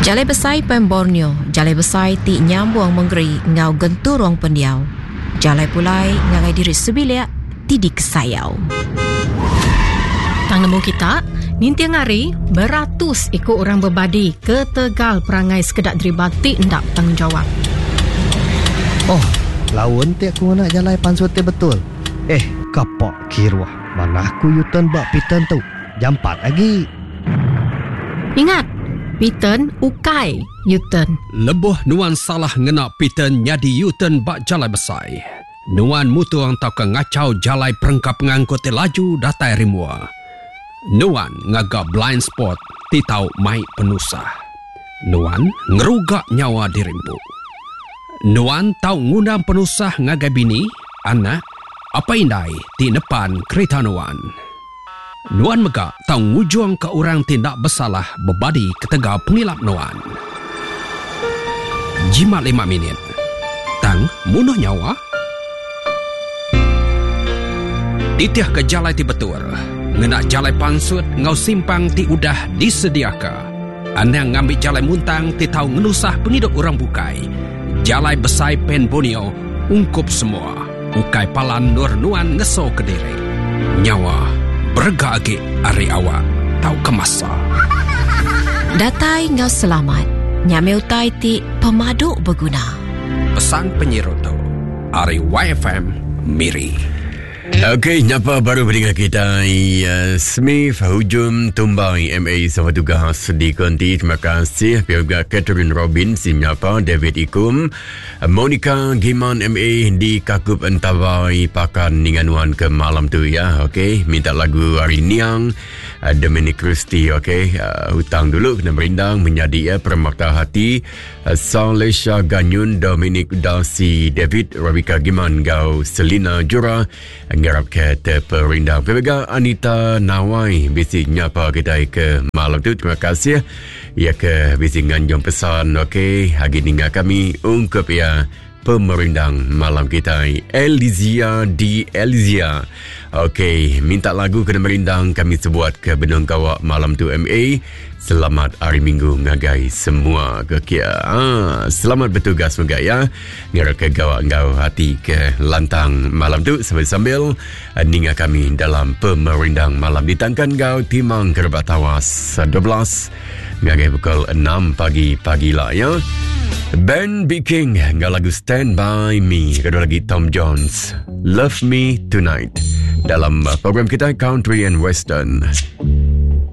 Jalai Besai Pan Borneo, jalai besai ti nyambung mengeri enggau genturung pendiau. Jalai pulai ngagai diri sebilik ti dikesayau. Tang nemu kita, ninting hari beratus iku orang bebadi ketegal perangai sekeda deriba ti enda betanggungjawap. Oh, laun ti aku ngena jalai pansut ti betul. Eh, kapak kiruh. Manah ku U-turn ba P-turn tu. Jampat agi. Ingat, P-turn ukai U-turn. Lebuh nuan salah ngena P-turn nyadi U-turn ba jalai besai, nuan mutung tauka ngachau jalai perengka pengangkut ti laju datai ari mua. Nuan ngaga blind spot ti tau mai penusah. Nuan ngeruga nyawa diri empu. Nuan tau ngundang penusah ngagai bini, anak, apai indai ti nepan kerita nuan. Nuan mega tau ngujungka orang ti enda besalah bebadi ketegal pengilap nuan. Jimat lima minit. Tang munuh nyawa? Titihka jalai ti betul, ngena jalai pansut enggau simpang ti udah disediaka. Anang ngambi jalai muntang ti tau ngenusah pengidup orang bukai. Jalai Besai Pan Borneo ungkup semua. Ukai palan endur nuan ngeso kediri. Nyawa berega agi ari awak tauka masa. Datai enggau selamat nya meh utai ti pemadu beguna. Pesan penyiru tu ari YFM Miri. Okey, nyapa baru beringat kitai Smith Hujum Tumbai MA sama tugas di konti. Terima kasih pihak juga Catherine Robin si nyapa David Ikum Monica Giman MA di Kakup Entawai Pakan ninga nuan ke malam tu ya. Okey, minta lagu ari Niang eh, Dominic Christie okey. Uh, hutang dulu kena merindang menyadi ya Permata Hati uh, Salesha Ganyun Dominic Darcy David Rebecca Giman gau Selina Jura ngarap ke terperindang. Pemega Anita Nawai bisi nyapa kita ke malam tu. Terima kasih. Iya ke bisi nganjung pesan okey agi ninga kami ungkup iya pemerindang malam kitai Elizia di Elizia. Okey, minta lagu kena merindang kami sebuat ke benung gawa malam tu MA. Selamat hari Minggu ngagai semua ke kia. Ah, selamat bertugas mega ya. Ngira ke gawa enggau hati ke lantang malam tu sambil-sambil eh, ninga kami dalam pemerindang malam ditangkan enggau Timang Kerebak Tawas 12 ngagai pukul 6 pagi pagi lah ya. Ben B. King enggau lagu Stand By Me. Kedua lagi Tom Jones, Love Me Tonight. Dalam eh, program kita Country and Western.